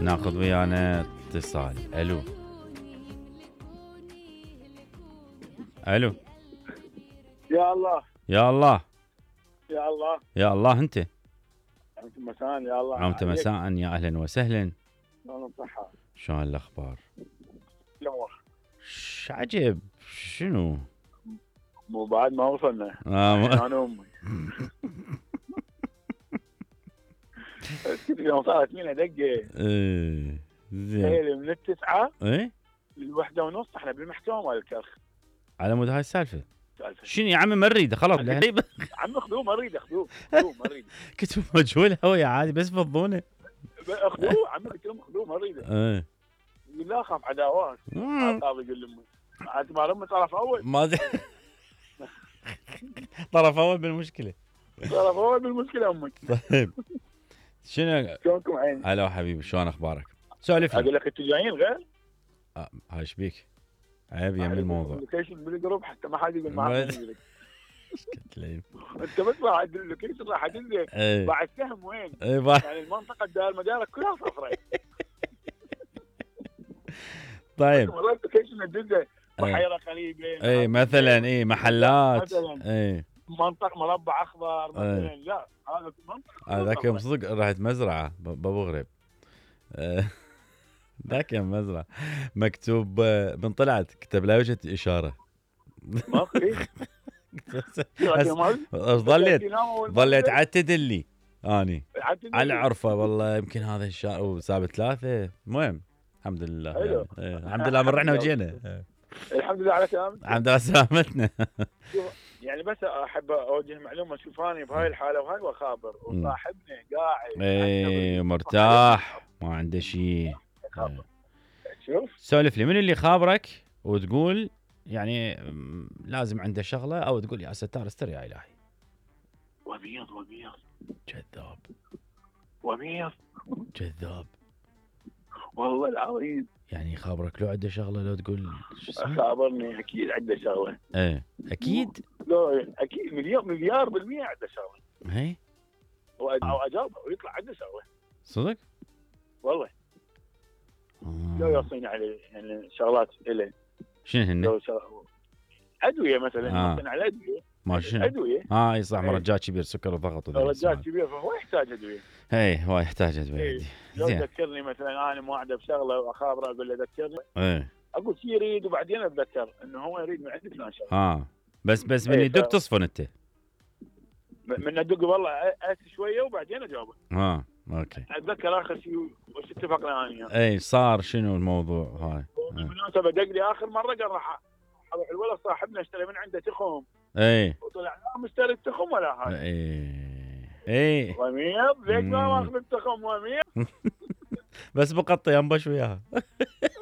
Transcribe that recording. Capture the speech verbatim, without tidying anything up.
ناخذ ويانا اتصال. الو الو. يا الله يا الله يا الله يا الله. انت انت مساء يا الله عمت مساء. يا اهلا وسهلا. شلون الصحة؟ شلون الاخبار؟ الامور ش عجب. شنو؟ مو بعد ما وصلنا. آه ما... انا امي يوم صارت فينا دقه ايه زين. تخيل من التسعه ايه للوحده ونص احنا بالمحكمه مال الكرخ. على مود هاي السالفه. سالفه شنو يا عمي ما نريده خلاص. عم اخذوه ما اريد اخذوه اخذوه ما اريد. كنت مجهول هوي عادي بس فضونه. اخذوه عمي قلت لهم اخذوه ما اريده. ايه يقول لا اخاف عداوات. القاضي يقول لامي عاد مال امي طرف اول. ما ادري. طرف اول بالمشكله. طرف اول بالمشكله امي. طيب شنو؟ شلونكم عيني؟ هلا حبيبي شلون اخبارك؟ سولف لي. اقول لك انتوا جايين غير؟ آه هاي ايش بيك؟ عيب يم الموضوع. اللوكيشن بالجروب حتى ما حد يقول معك. كتلين. انت بس راح اللوكيشن راح تنزل بعد سهم وين؟ ايه بعد يعني المنطقه الدائره المدارك كلها صفراء. طيب والله اللوكيشن تنزل بحيره قريبه. اي مثلا اي محلات مثلا اي منطقه مربع اخضر مثلا. ايه. لا هذا منطقه هذاك يوم صدق رحت مزرعه بابو غريب. ذاك يوم مزرعه مكتوب من طلعت كتب لا يوجد اشاره. ما في. ظليت ظليت عتد لي اني على عرفه والله يمكن هذا الشارع وسابت ثلاثه. المهم الحمد لله يعني. ايه. الحمد لله من رحنا وجينا. الحمد لله على سلامتك. الحمد لله سلامتنا. يعني بس احب اوجه معلومه. شوف اني بهاي الحاله وهاي وخابر وصاحبنا قاعد ايه مرتاح ما عنده شيء. شوف سولف لي من اللي خابرك وتقول يعني لازم عنده شغله او تقول يا ستار استر يا الهي. وبيض وبيض كذاب وبيض كذاب والله العظيم. يعني خابرك لو عنده شغله لو تقول شو اسمه؟ خابرني اكيد عنده شغله. ايه اكيد. لا اكيد مليار مليار بالمية عنده شغله. ايه او اجاوبه ويطلع عنده شغله. صدق؟ والله. آه. لو يوصيني على يعني شغلات له. شنو هن؟ ادويه مثلا. آه. مثلا على ادويه. ما شنو؟ ادويه. اه اي صح. مرجع كبير سكر وضغط وذا. مرجع كبير فهو يحتاج ادويه. اي هو يحتاج ادويه. إيه. لو ذكرني مثلا انا موعده بشغله واخابره اقول له ذكرني. ايه اقول شي يريد وبعدين اتذكر انه هو يريد من عندك فلان شغله. اه بس بس من يدق تصفن انت. من ادق والله اسس شويه وبعدين اجاوبه. اه اوكي. اتذكر اخر شيء وش اتفقنا انا. اي صار شنو الموضوع هاي؟ بالمناسبه دق لي اخر مره قال راح اروح الولد صاحبنا اشتري من عنده تخم. اي وطلع لا مشتري التخم ولا هاي. اي اي وميض ليش ما ماخذ التخم وميض. بس بقطي انبش وياها.